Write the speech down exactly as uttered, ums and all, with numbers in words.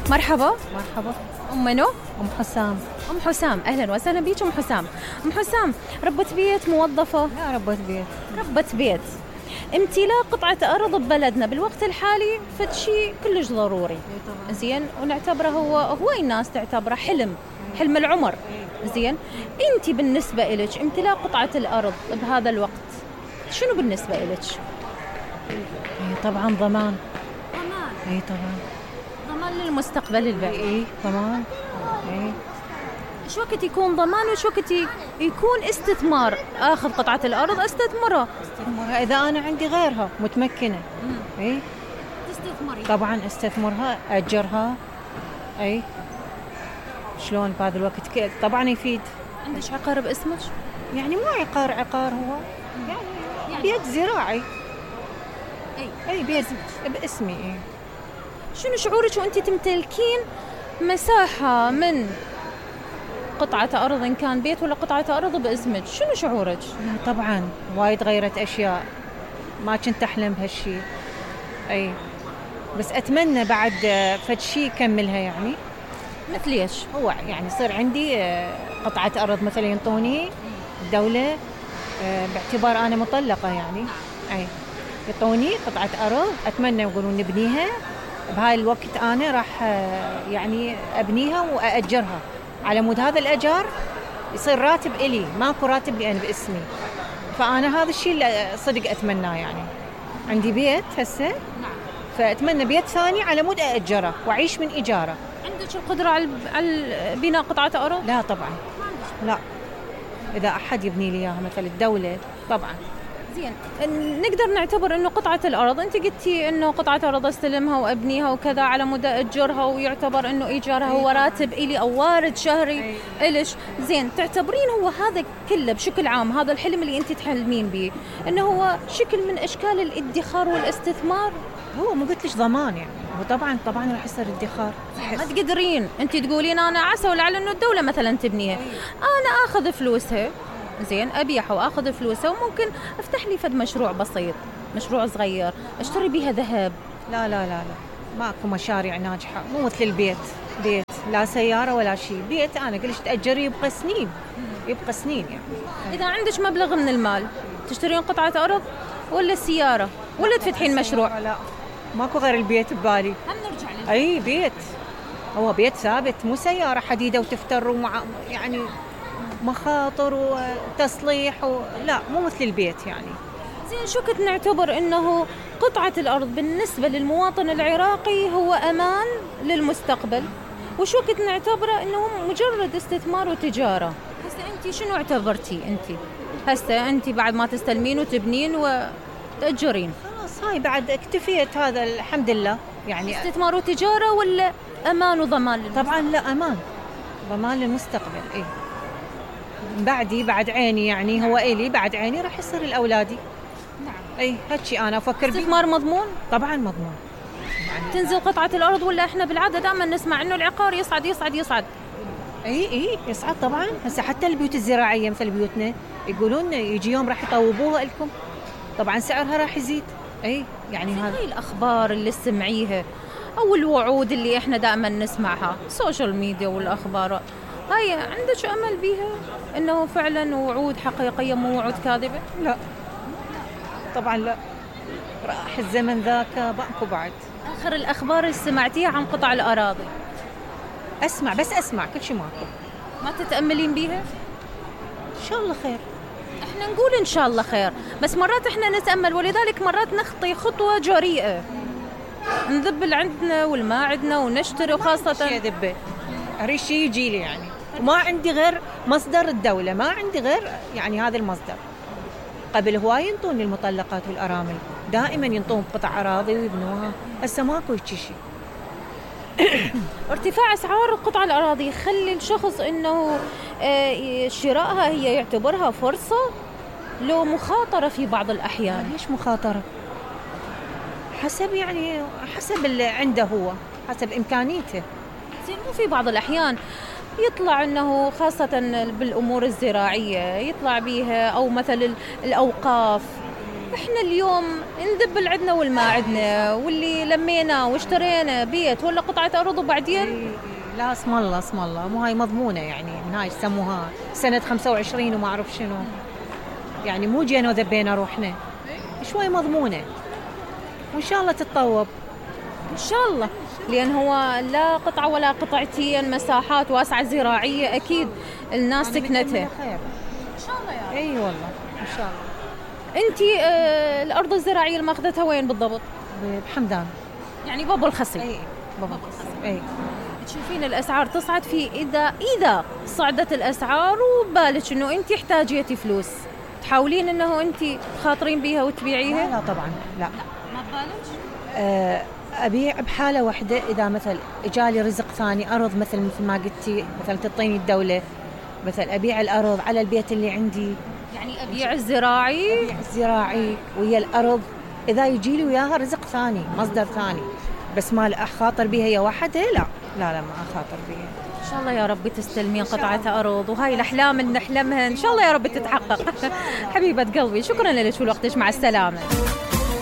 مرحبا. مرحبا. أم منو؟ أم حسام. أم حسام، أهلا وسهلا بيك أم حسام. أم حسام، ربة بيت موظفة؟ لا، ربة بيت. ربة بيت. امتلاك قطعة أرض ببلدنا بالوقت الحالي فد شيء كلش ضروري. زين، ونعتبره هو هو الناس تعتبره حلم، حلم العمر. زين، أنت بالنسبة إلك امتلاك قطعة الأرض بهذا الوقت شنو بالنسبة إلك؟ إيه طبعا ضمان. ضمان. إيه طبعا. ضمان للمستقبل البعيد. إيه ضمان. إيه. شو وقت يكون ضمان وشو وقت يكون استثمار؟ اخذ قطعة الارض استثمرها. استثمرها اذا انا عندي غيرها متمكنة. اي تستثمري. طبعا استثمرها، اجرها. اي شلون بهذا الوقت ك... طبعا يفيد. عندك عقار باسمك؟ يعني مو عقار عقار هو يعني, يعني بيت زراعي. اي اي بيت باسمي. اي. شنو شعورك وانت تمتلكين مساحة من قطعة أرض إن كان بيت ولا قطعة أرض باسمك؟ شنو شعورك؟ لا طبعا وايد غيرت أشياء ما كنت أحلم بهالشيء. أي بس أتمنى بعد فد شيء يكملها يعني. مثل إيش؟ هو يعني يصير عندي قطعة أرض مثلا ينطوني الدولة باعتبار أنا مطلقة يعني. أي يعطوني قطعة أرض أتمنى يقولون نبنيها بهاي الوقت، أنا راح يعني أبنيها وأأجرها على مود هذا الأجار يصير راتب إلي، ماكو راتب لي أنا باسمي. فأنا هذا الشيء اللي صدق أتمناه يعني. عندي بيت هسه فأتمنى بيت ثاني على مود أأجره وأعيش من إيجاره. عندك القدرة على بناء قطعة أرض؟ لا طبعا لا، إذا أحد يبني لي إياها مثل الدولة طبعا. زين، نقدر نعتبر إنه قطعة الأرض أنت قلتي إنه قطعة أرض استلمها وأبنيها وكذا على مدى أجرها ويعتبر إنه إيجارها هو راتب إلي أو وارد شهري إلش. زين، تعتبرين هو هذا كله بشكل عام هذا الحلم اللي أنت تحلمين به إنه هو شكل من أشكال الادخار والاستثمار؟ هو مو قلت ليش ضمان يعني، هو طبعا طبعا راح يصير ادخار. ما تقدرين أنت تقولين أنا عسى ولعل إنه الدولة مثلا تبنيها، أنا آخذ فلوسها زين أبيعها وآخذ فلوسها وممكن أفتح لي فد مشروع بسيط، مشروع صغير أشتري بيها ذهب. لا لا لا لا، ماكو مشاريع ناجحة، مو مثل البيت. بيت لا سيارة ولا شيء، بيت أنا قلت تأجري يبقى سنين، يبقى سنين يعني. إذا عندك مبلغ من المال تشترين قطعة أرض ولا سيارة ولا تفتحين مشروع؟ لا ماكو غير البيت ببالي. هم نرجع للبيت. أي بيت، هو بيت ثابت مو سيارة حديدة وتفتر ومع يعني مخاطر وتصليح و... لا مو مثل البيت يعني. زين، شو كنت نعتبر إنه قطعة الأرض بالنسبة للمواطن العراقي هو أمان للمستقبل، وشو كنت نعتبره إنه مجرد استثمار وتجارة؟ هسه أنت شنو اعتبرتي أنت؟ هسه أنت بعد ما تستلمين وتبنين وتأجرين خلاص هاي بعد اكتفيت، هذا الحمد لله يعني. استثمار وتجارة ولا أمان وضمان للمستقبل؟ طبعا لا، أمان ضمان للمستقبل. إيه بعدي بعد عيني يعني، هو إلي بعد عيني راح يصير الأولادي. نعم. أي هالشي أنا أفكر به. استثمار مضمون؟ طبعا مضمون يعني. تنزل قطعة الأرض ولا إحنا بالعادة دائما نسمع إنه العقار يصعد يصعد يصعد؟ اي اي يصعد طبعا. هسه حتى البيوت الزراعية مثل بيوتنا يقولون يجي يوم راح يطوبوها لكم، طبعا سعرها راح يزيد. اي يعني هذا هاي الأخبار اللي سمعيها أو الوعود اللي إحنا دائما نسمعها السوشيال ميديا والأخبار، هاي عندك أمل بيها إنه فعلا وعود حقيقية مو وعود كاذبة؟ لا طبعا لا، راح الزمن ذاك ماكو بعد. آخر الأخبار اللي سمعتيها عن قطع الأراضي؟ أسمع بس أسمع كل شيء ماكو. ما تتأملين بيها؟ إن شاء الله خير. إحنا نقول إن شاء الله خير، بس مرات إحنا نتأمل ولذلك مرات نخطي خطوة جريئة نذب اللي عندنا والما عندنا ونشتري، وخاصة شيء ذبه أريد شيء يجي لي يعني، وما عندي غير مصدر الدولة، ما عندي غير يعني هذا المصدر. قبل هواي ينطون المطلقات والأرامل دائما ينطون قطع أراضي ويبنوها، هسه ماكو هيك شيء. ارتفاع أسعار قطع الأراضي يخلي الشخص إنه شرائها هي يعتبرها فرصة لو مخاطرة في بعض الأحيان. ليش مخاطرة؟ حسب يعني حسب اللي عنده هو، حسب إمكانيته. زين، مو في بعض الأحيان يطلع أنه خاصة بالأمور الزراعية يطلع بيها أو مثل الأوقاف احنا اليوم نذبل عندنا والما عندنا، واللي لمينا واشترينا بيت ولا قطعة أرض وبعدين لا اسم الله اسم الله، مو هاي مضمونة يعني، من هاي يسموها سنة خمسة وعشرين وما أعرف شنو، يعني مو جينا وذبينا روحنا، شوي مضمونة وإن شاء الله تتطوب إن شاء الله، لأن هو لا قطعة ولا قطعتين، مساحات واسعة زراعية أكيد الناس سكنتها. إن شاء الله يا أي والله إن شاء الله. أنتي آه الأرض الزراعية اللي ماخذتها وين بالضبط؟ بحمدان. يعني بابو الخصي. أي بابو الخصي. أي. تشوفين الأسعار تصعد في إذا إذا صعدت الأسعار وبالك إنه أنتي احتاجيتي فلوس، تحاولين إنه أنتي تخاطرين بيها وتبيعيها؟ لا, لا طبعا لا. ما ببالك؟ أه أبيع بحالة واحدة إذا مثل إجالي رزق ثاني، أرض مثل مثل ما قلتي، مثل تعطيني الدولة، مثل أبيع الأرض على البيت اللي عندي. يعني أبيع الزراعي؟ أبيع الزراعي ويا الأرض، إذا يجي لي وياها رزق ثاني، مصدر ثاني، بس ما أخاطر بها هي واحدة، لا لا لا ما أخاطر بها. إن شاء الله يا رب تستلمين قطعة أرض، وهاي الأحلام اللي نحلمها إن شاء الله يا رب تتحقق. حبيبة قلبي، شكرا لك ولوقتك، مع السلامة.